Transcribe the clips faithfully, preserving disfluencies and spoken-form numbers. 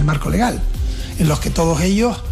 marco legal, en los que todos ellos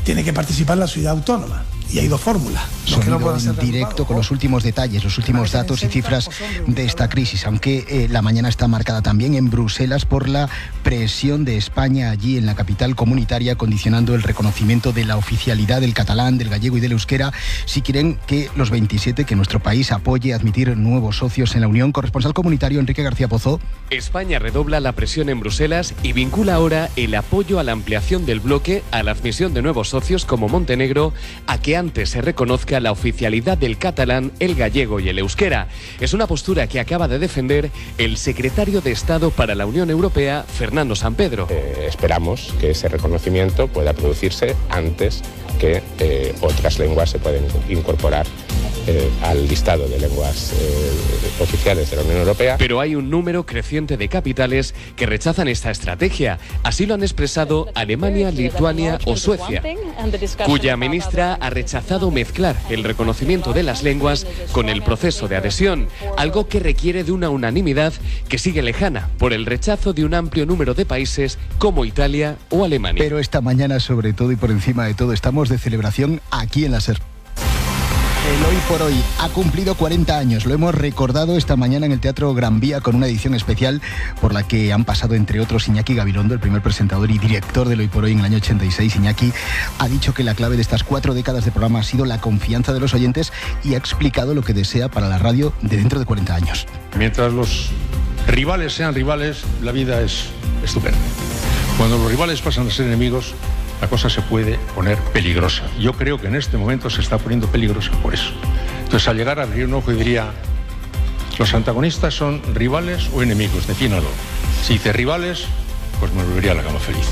tienen que participar en la ciudad autónoma. Y hay dos fórmulas. Sonido no en directo con los últimos detalles, los últimos datos y cifras de esta crisis, aunque eh, la mañana está marcada también en Bruselas por la presión de España allí en la capital comunitaria, condicionando el reconocimiento de la oficialidad del catalán, del gallego y del euskera, si quieren que los veintisiete, que nuestro país apoye admitir nuevos socios en la Unión. Corresponsal comunitario Enrique García Pozo. España redobla la presión en Bruselas y vincula ahora el apoyo a la ampliación del bloque a la admisión de nuevos socios como Montenegro, a que antes se reconozca la oficialidad del catalán, el gallego y el euskera. Es una postura que acaba de defender el secretario de Estado para la Unión Europea, Fernando Sampedro. Eh, esperamos que ese reconocimiento pueda producirse antes que eh, otras lenguas se pueden incorporar eh, al listado de lenguas eh, oficiales de la Unión Europea. Pero hay un número creciente de capitales que rechazan esta estrategia. Así lo han expresado Alemania, Lituania o Suecia, cuya ministra ha rechazado mezclar el reconocimiento de las lenguas con el proceso de adhesión, algo que requiere de una unanimidad que sigue lejana por el rechazo de un amplio número de países como Italia o Alemania. Pero esta mañana, sobre todo y por encima de todo, estamos de celebración aquí en la SER. El Hoy por Hoy ha cumplido cuarenta años. Lo hemos recordado esta mañana en el Teatro Gran Vía con una edición especial por la que han pasado, entre otros, Iñaki Gabilondo, el primer presentador y director del Hoy por Hoy en el año ochenta y seis. Iñaki ha dicho que la clave de estas cuatro décadas de programa ha sido la confianza de los oyentes y ha explicado lo que desea para la radio de dentro de cuarenta años. Mientras los rivales sean rivales, la vida es estupenda. Cuando los rivales pasan a ser enemigos, la cosa se puede poner peligrosa. Yo creo que en este momento se está poniendo peligrosa por eso. Entonces, al llegar a abrir un ojo, diría, ¿los antagonistas son rivales o enemigos? Defínalo. Si dice rivales, pues me volvería a la cama feliz.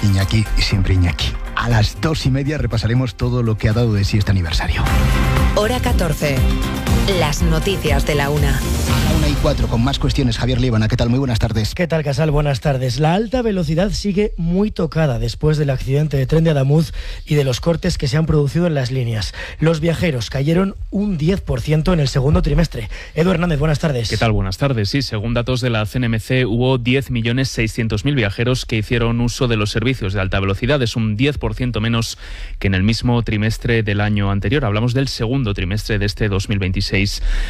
Iñaki, siempre Iñaki. A las dos y media repasaremos todo lo que ha dado de sí este aniversario. Hora catorce. Las noticias de la una. A la una y cuatro, con más cuestiones. Javier Líbana, ¿qué tal? Muy buenas tardes. ¿Qué tal, Casal? Buenas tardes. La alta velocidad sigue muy tocada después del accidente de tren de Adamuz y de los cortes que se han producido en las líneas. Los viajeros cayeron un diez por ciento en el segundo trimestre. Edu Hernández, buenas tardes. ¿Qué tal? Buenas tardes. Sí, según datos de la C N M C, hubo diez millones seiscientos mil viajeros que hicieron uso de los servicios de alta velocidad. Es un diez por ciento menos que en el mismo trimestre del año anterior. Hablamos del segundo trimestre de este dos mil veintiséis.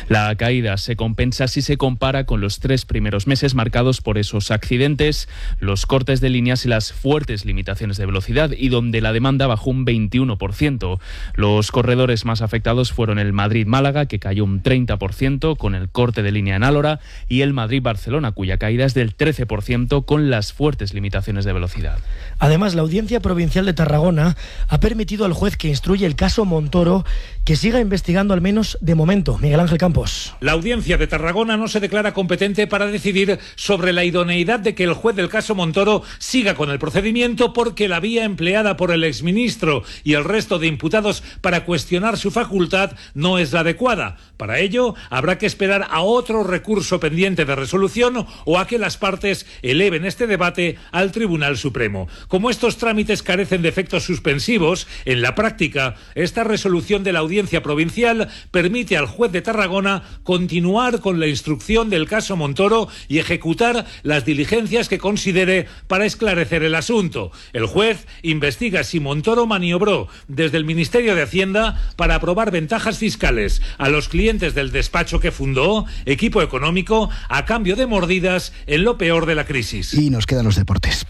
La caída se compensa si se compara con los tres primeros meses marcados por esos accidentes, los cortes de líneas y las fuertes limitaciones de velocidad, y donde la demanda bajó un veintiuno por ciento. Los corredores más afectados fueron el Madrid-Málaga, que cayó un treinta por ciento con el corte de línea en Álora, y el Madrid-Barcelona, cuya caída es del trece por ciento con las fuertes limitaciones de velocidad. Además, la Audiencia Provincial de Tarragona ha permitido al juez que instruye el caso Montoro que siga investigando, al menos de momento. Miguel Ángel Campos. La Audiencia de Tarragona no se declara competente para decidir sobre la idoneidad de que el juez del caso Montoro siga con el procedimiento, porque la vía empleada por el exministro y el resto de imputados para cuestionar su facultad no es la adecuada. Para ello, habrá que esperar a otro recurso pendiente de resolución o a que las partes eleven este debate al Tribunal Supremo. Como estos trámites carecen de efectos suspensivos, en la práctica, esta resolución de la Audiencia Provincial permite al juez de Tarragona continuar con la instrucción del caso Montoro y ejecutar las diligencias que considere para esclarecer el asunto. El juez investiga si Montoro maniobró desde el Ministerio de Hacienda para aprobar ventajas fiscales a los clientes del despacho que fundó, Equipo Económico, a cambio de mordidas en lo peor de la crisis. Y nos quedan los deportes.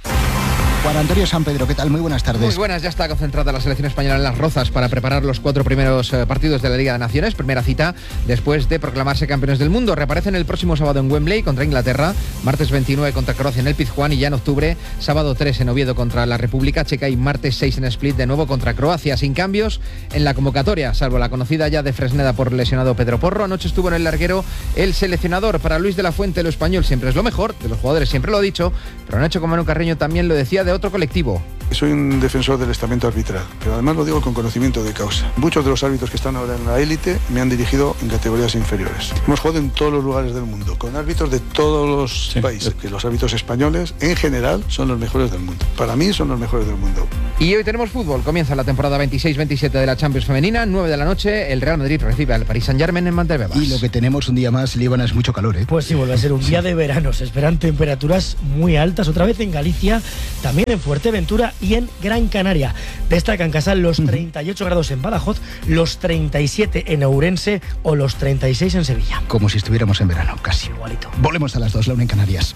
Juan Antonio Sampedro, ¿qué tal? Muy buenas tardes. Muy buenas, ya está concentrada la selección española en Las Rozas para preparar los cuatro primeros eh, partidos de la Liga de Naciones. Primera cita después de proclamarse campeones del mundo. Reaparecen el próximo sábado en Wembley contra Inglaterra, martes veintinueve contra Croacia en el Pizjuán, y ya en octubre, sábado tres en Oviedo contra la República Checa y martes seis en Split de nuevo contra Croacia. Sin cambios en la convocatoria, salvo la conocida ya de Fresneda por lesionado Pedro Porro. Anoche estuvo en el larguero el seleccionador. Para Luis de la Fuente, lo español siempre es lo mejor, de los jugadores siempre lo ha dicho, pero anoche con Manu Carreño también lo decía de otro colectivo. Soy un defensor del estamento arbitral, pero además lo digo con conocimiento de causa. Muchos de los árbitros que están ahora en la élite me han dirigido en categorías inferiores. Hemos jugado en todos los lugares del mundo, con árbitros de todos los sí. países, que los árbitros españoles en general son los mejores del mundo. Para mí son los mejores del mundo. Y hoy tenemos fútbol. Comienza la temporada veintiséis veintisiete de la Champions femenina. nueve de la noche, el Real Madrid recibe al Paris Saint-Germain en Montebebas. Y lo que tenemos un día más, Líbana, es mucho calor, ¿eh? Pues sí, vuelve a ser un día de verano. Se esperan temperaturas muy altas, otra vez en Galicia, también en Fuerteventura y en Gran Canaria. Destacan Casal los treinta y ocho grados en Badajoz, los treinta y siete en Ourense o los treinta y seis en Sevilla. Como si estuviéramos en verano, casi. Igualito. Volvemos a las dos, la una en Canarias.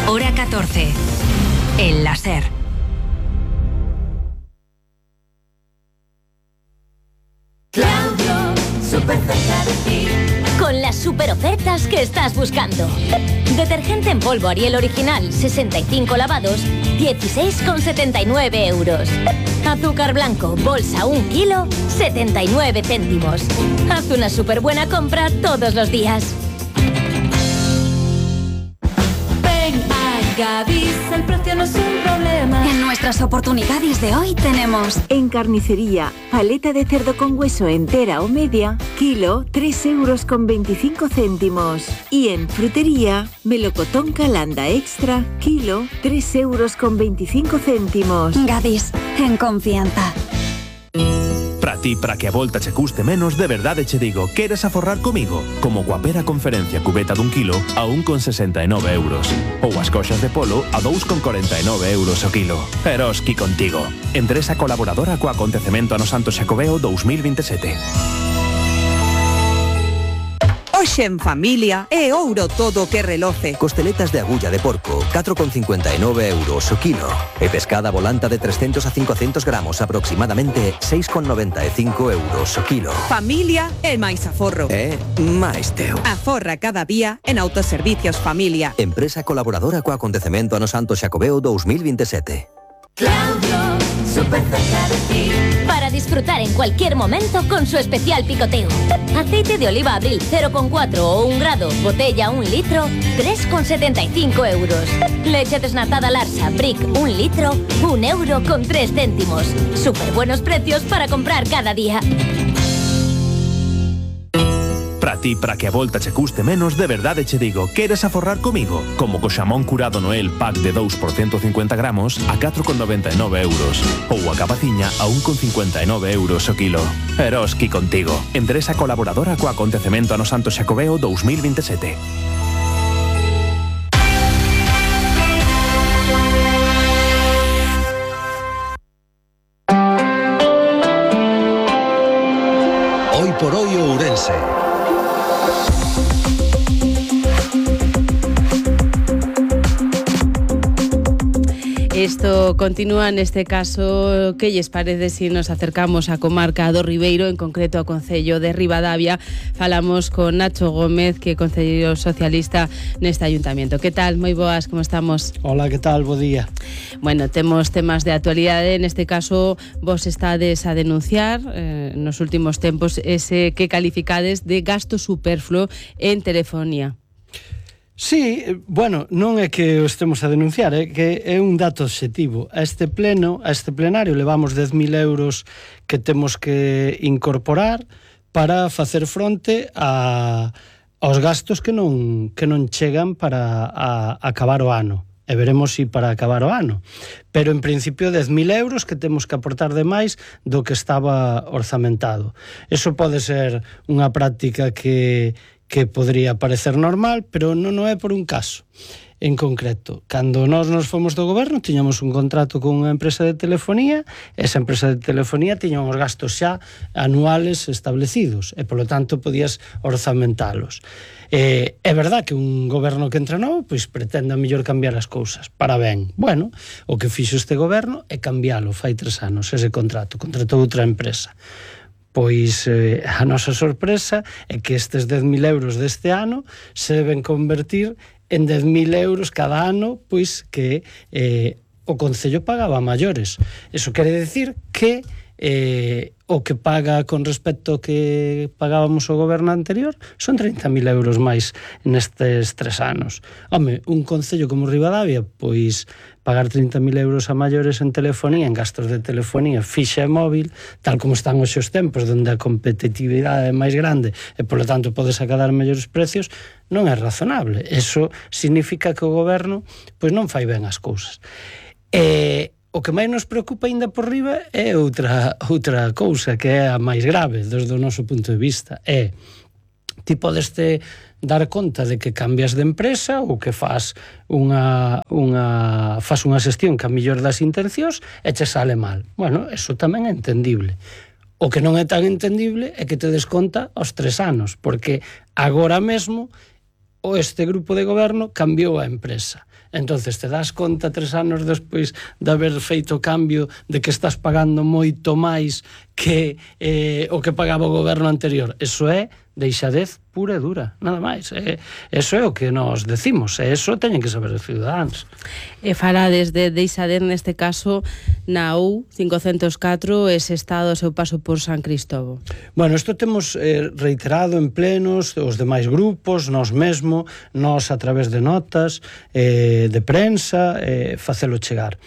Hora catorce. El láser. Claudio, súper cerca de ti. Con las super ofertas que estás buscando. Detergente en polvo Ariel original, sesenta y cinco lavados, dieciséis con setenta y nueve euros. Azúcar blanco, bolsa un kilo, setenta y nueve céntimos. Haz una súper buena compra todos los días. Ven a Gadis, el precio no es un problema. En nuestras oportunidades de hoy tenemos en carnicería, paleta de cerdo con hueso entera o media, kilo, tres euros con veinticinco céntimos. Y en frutería, melocotón Calanda extra, kilo, tres euros con veinticinco céntimos. Gadis, en confianza. Para ti, para que a volta che custe menos, de verdade che digo, queres aforrar comigo? Como coa conferencia cubeta dun kilo a un con sesenta e nove euros. Ou as coxas de polo a dous con corenta e nove euros o kilo. Eroski contigo. Empresa colaboradora co acontecemento ano Santo Xacobeo dous mil veintisiete. Hoxe en familia é ouro todo que reloce. Costeletas de agulla de porco, catro con cincuenta e nove euros o kilo. E pescada volanta de trescentos a cincocentos gramos, aproximadamente seis con noventa e cinco euros o kilo. Familia é máis aforro. É máis teu. Aforra cada día en Autoservicios Familia. Empresa colaboradora co acontecemento ano Santo Xacobeo dous mil veintisiete. Claudio, súper cerca de ti. Para disfrutar en cualquier momento con su especial picoteo. Aceite de oliva Abril cero coma cuatro o un grado, botella un litro, tres con setenta y cinco euros. Leche desnatada Larsa, Brick un litro, un euro con tres céntimos. Súper buenos precios para comprar cada día. Para ti, para que a volta che custe menos, de verdade che digo, queres aforrar comigo? Como co xamón curado Noel pack de dous por ciento cincuenta gramos a catro con noventa e nove euros. Ou a capaciña a un con cincuenta e nove euros o kilo. Eroski contigo. Empresa colaboradora co acontecemento ano Santo Xacobeo dous mil veintisiete. Hoy por hoy Ourense. Isto continúa neste caso. Que lles parece se nos acercamos á comarca do Ribeiro, en concreto ao concello de Ribadavia? Falamos con Nacho Gómez, que é concelleiro socialista neste ayuntamiento. Que tal? Moi boas, como estamos? Hola, que tal? Bo día. Bueno, temos temas de actualidade. Neste caso, vos estades a denunciar eh, nos últimos tempos ese que calificades de gasto superfluo en telefonía. Sí, bueno, non é que o estemos a denunciar, é que é un dato obxectivo. A este pleno, a este plenario levamos dez mil euros que temos que incorporar para facer fronte a, aos gastos que non, que non chegan para a, a acabar o ano. E veremos si para acabar o ano. Pero en principio dez mil euros que temos que aportar de máis do que estaba orzamentado. Eso pode ser unha práctica que que podría parecer normal, pero non é por un caso en concreto. Cando nós nos fomos do goberno, tiñamos un contrato con unha empresa de telefonía, esa empresa de telefonía tiña uns gastos xa anuales establecidos, e polo tanto podías orzamentalos. Eh, é verdad que un goberno que entra novo, pois pretende a mellor cambiar as cousas, para ben. Bueno, o que fixo este goberno é cambialo, fai tres anos, ese contrato, contratou outra empresa. Pois eh, a nosa sorpresa é que estes dez mil euros deste ano se deben convertir en dez mil euros cada ano, pois que eh, o Concello pagaba a maiores. Eso quere decir que eh, o que paga con respecto ao que pagábamos o goberno anterior son trinta mil euros máis nestes tres anos. Home, un concello como Ribadavia, pois pagar trinta mil euros a maiores en telefonía, en gastos de telefonía fixa e móvil, tal como están hoxe os tempos, onde a competitividade é máis grande e, polo tanto, podes acadar mellores precios, non é razonable. Eso significa que o goberno pois non fai ben as cousas. E o que máis nos preocupa ainda por riba é outra, outra cousa, que é a máis grave desde o noso punto de vista. É, ti podes te dar conta de que cambias de empresa ou que faz unha, unha, faz unha xestión que a mellor das intencións e che sale mal. Bueno, eso tamén é entendible. O que non é tan entendible é que te des conta aos tres anos, porque agora mesmo o este grupo de goberno cambiou a empresa. Entonces te das conta tres anos despois de haber feito o cambio de que estás pagando moito máis que eh, o que pagaba o goberno anterior. Eso é deixadez pura e dura, nada máis. Eh, eso é o que nos decimos, e eso teñen que saber os ciudadanos. E falades de deixadez neste caso na U cincocentos catro, ese estado ao seu paso por San Cristóbal. Bueno, isto temos eh, reiterado en plenos, os demais grupos, nós mesmo, nós a través de notas, eh, de prensa, eh, facelo chegar.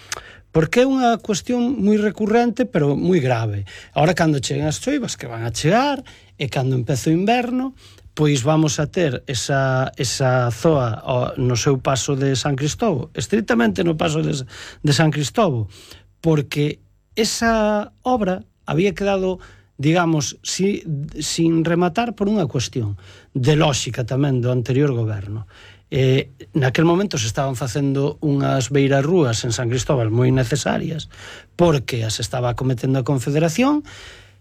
Porque é unha cuestión moi recurrente, pero moi grave. Ahora, cando cheguen as choivas, que van a chegar, e cando empece o inverno, pois vamos a ter esa, esa zoa no seu paso de San Cristóbal, estritamente no paso de, de San Cristóbal, porque esa obra había quedado, digamos, si, sin rematar por unha cuestión de lóxica tamén do anterior goberno. Eh, naquel momento se estaban facendo unhas beirarrúas en San Cristóbal moi necesarias porque as estaba cometendo a Confederación,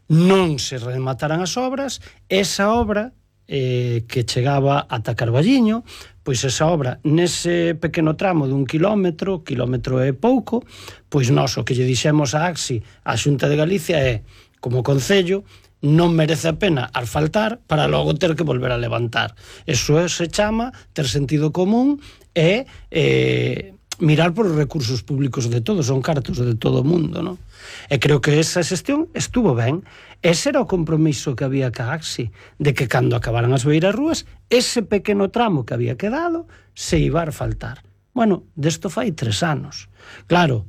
non se remataran as obras, esa obra eh, que chegaba ata Carballiño, pois esa obra nese pequeno tramo dun quilómetro, quilómetro e pouco, pois nós o que lle dixemos a AXI, a Xunta de Galicia, é, como concello, non merece a pena asfaltar para logo ter que volver a levantar. Eso é, se chama ter sentido común e eh, mirar por os recursos públicos de todos, son cartos de todo o mundo, non? E creo que esa xestión estuvo ben. Ese era o compromiso que había ca AXI, de que cando acabaran as beirarrúas, ese pequeno tramo que había quedado se iba a faltar. Bueno, desto fai tres anos. Claro,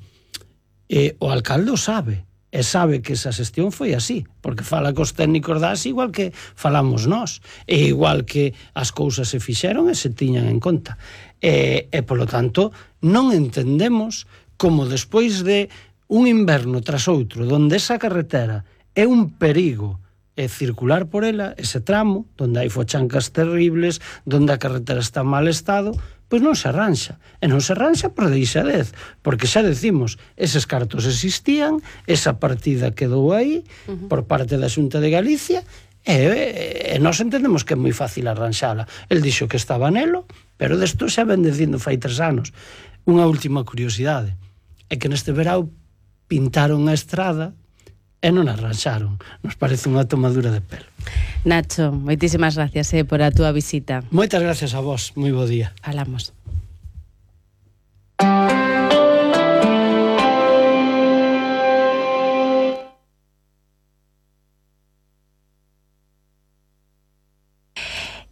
eh, o alcalde o sabe, e sabe que esa xestión foi así, porque fala cos técnicos da AXI igual que falamos nós, e igual que as cousas se fixeron e se tiñan en conta. E, e polo tanto, non entendemos como despois de un inverno tras outro, donde esa carretera é un perigo e circular por ela, ese tramo, donde hai fochancas terribles, donde a carretera está en mal estado, pois non se arranxa. E non se arranxa por deixadez, porque xa decimos, eses cartos existían, esa partida quedou aí, uh-huh. por parte da Xunta de Galicia, e, e nós entendemos que é moi fácil arranxala. El dixo que estaba nelo, pero desto xa ven dicindo fai tres anos. Unha última curiosidade, é que neste verao pintaron a estrada e non arranxaron. Nos parece unha tomadura de pelo. Nacho, moitísimas gracias eh, por a túa visita. Moitas gracias a vos, moi bo día. Falamos.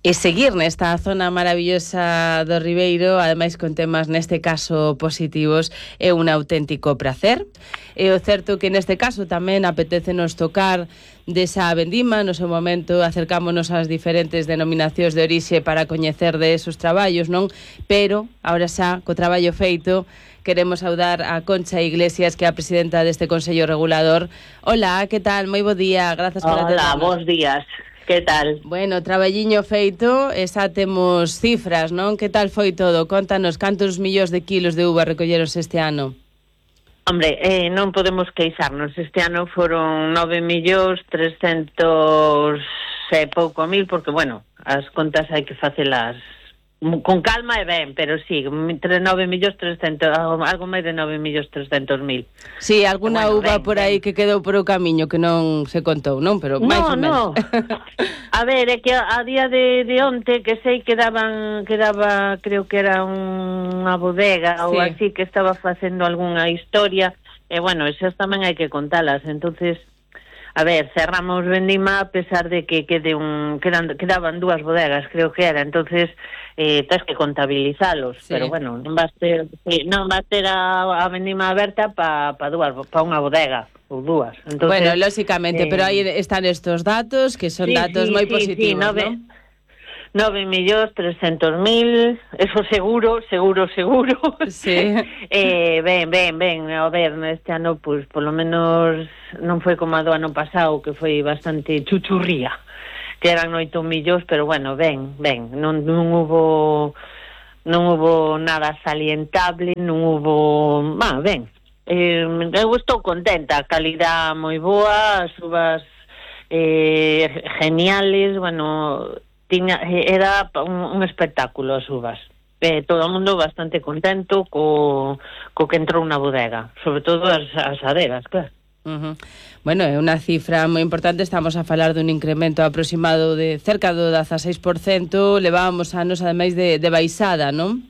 E seguir nesta zona maravillosa do Ribeiro, ademais con temas neste caso positivos, é un auténtico prazer. E o certo que neste caso tamén apetécenos tocar desa vendima, no seu momento acercámonos ás diferentes denominacións de orixe para coñecer de esos traballos, non? Pero, agora xa, co traballo feito, queremos saudar a Concha Iglesias, que é a presidenta deste Consello Regulador. Hola, que tal? Moi bo día, grazas por atendernos. Hola, bons días. Que tal? Bueno, traballiño feito, e xa temos cifras, non? Que tal foi todo? Contanos, cantos millóns de kilos de uva recolleros este ano? Hombre, eh, non podemos queixarnos. Este ano foron nove millóns trescentos e pouco mil, porque, bueno, as contas hai que facelas con calma e ben, pero sí, nove millóns trescentos, algo máis de nove millóns trescentos mil. Sí, alguna bueno, uva ben, por aí ben. Que quedou por o camiño que non se contou, non? Pero máis no, ou menos. No. A ver, é que a día de, de onte que sei que daban, que daba, creo que era unha bodega sí. ou así, que estaba facendo algunha historia, e bueno, esas tamén hai que contalas, entonces A ver, cerramos Vendima a pesar de que quede un, quedan, quedaban dúas bodegas, creo que era, entonces eh, tens que contabilizalos, sí. Pero bueno, non vas ter, non vas ter a, a Vendima aberta para pa dúas, pa unha bodega ou dúas. Entonces, bueno, lógicamente, eh, pero aí están estos datos que son sí, datos sí, moi sí, positivos, sí, nove, ¿no? nove millóns trescentos mil, eso seguro, seguro, seguro. Sí. eh, ben, ben, ben, a ver, este ano, pues, polo menos non foi como a do ano pasado, que foi bastante chuchurría, que eran oito millóns, pero bueno, ben, ben, non, non hubo non hubo nada salientable, non hubo, ah, ben, eh, eu estou contenta, a calidad moi boa, as uvas eh, geniales, bueno, tiña, era un, un espectáculo as uvas. Eh, todo o mundo bastante contento co, co que entrou na bodega, sobre todo as, as adegas, claro. Uh-huh. Bueno, é unha cifra moi importante, estamos a falar dun incremento aproximado de cerca do dezaseis por cento, levábamos anos ademais de, de baixada, non?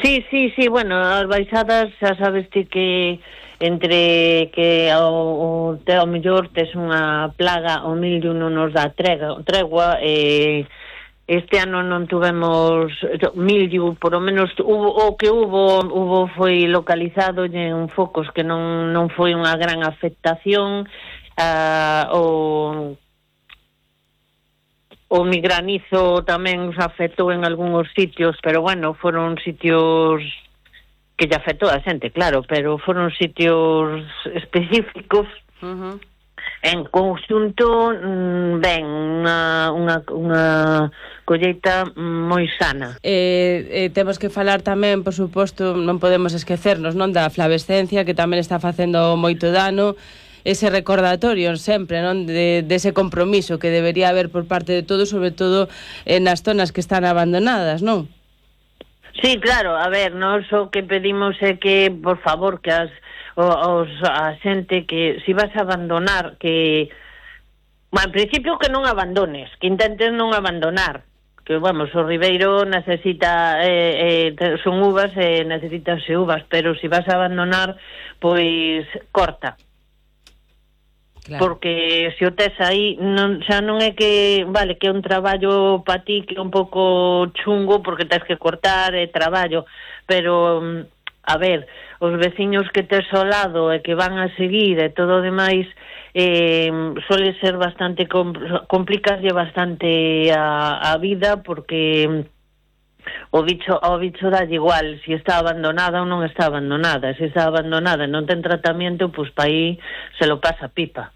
Sí, sí, sí, bueno, as baixadas xa sabes ti que entre que o, o te ao mellor tes unha plaga, o millo non nos dá tregua, tregua e eh, este ano non tuvemos millo, por lo menos hubo, o que hubo, hubo foi localizado en focos que non, non foi unha gran afectación, uh, o, o migranizo tamén os afectou en algúns sitios, pero bueno, foron sitios que lle afectou a xente, claro, pero foron sitios específicos. Uh-huh. En conxunto, ben, unha, unha, unha colleita moi sana. Eh, eh, temos que falar tamén, por suposto, non podemos esquecernos, non, da flavescencia, que tamén está facendo moito dano, ese recordatorio sempre, non, de, de ese compromiso que debería haber por parte de todos, sobre todo en as zonas que están abandonadas, non? Sí, claro, a ver, nós o que pedimos é que, por favor, que as os, a xente que si vas a abandonar, que bueno, en principio que non abandones, que intentes non abandonar, que vamos, o Ribeiro necesita eh, eh, son uvas e eh, necesitanse uvas, pero si vas a abandonar, pois corta. Claro. Porque se o tes aí non, xa non é que vale, que é un traballo pa ti que é un pouco chungo porque tes que cortar e eh, traballo, pero a ver, os veciños que tes ao lado e que van a seguir e todo o demais eh, suele ser bastante complicarlle bastante a, a vida porque o bicho ao bicho dalle igual se está abandonada ou non está abandonada, se está abandonada e non ten tratamento, pois pa aí se lo pasa pipa.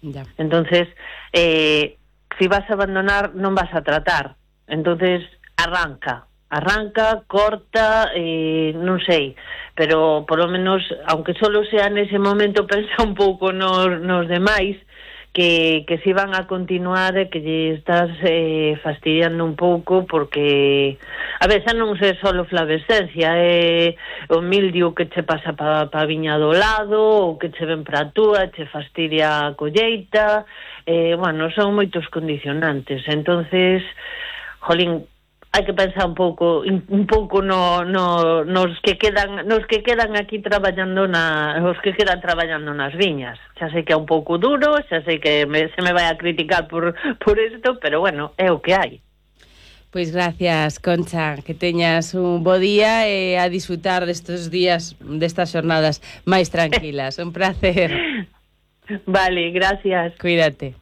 Ya. Entonces eh, si vas a abandonar non vas a tratar, entonces arranca arranca, corta, eh, non sei, pero por lo menos, aunque solo sea nese momento, pensa un pouco nos, nos demais, que, que si van a continuar e que lle estás eh, fastidiando un pouco, porque a ver, xa non sei só flavescencia, é eh, o mildio que che pasa pa, pa viña do lado, ou que che ven pra túa, che fastidia a colleita, eh, bueno, son moitos condicionantes, entonces, jolín, hai que pensar un pouco un pouco no, no, nos que quedan nos que quedan aquí traballando na os que quedan traballando nas viñas. Xa sei que é un pouco duro, xa sei que me, se me vai a criticar por por isto, pero bueno, é o que hai. Pois gracias, Concha, que teñas un bo día e a disfrutar destes días, destas xornadas máis tranquilas. Un placer. Vale, gracias. Cuídate.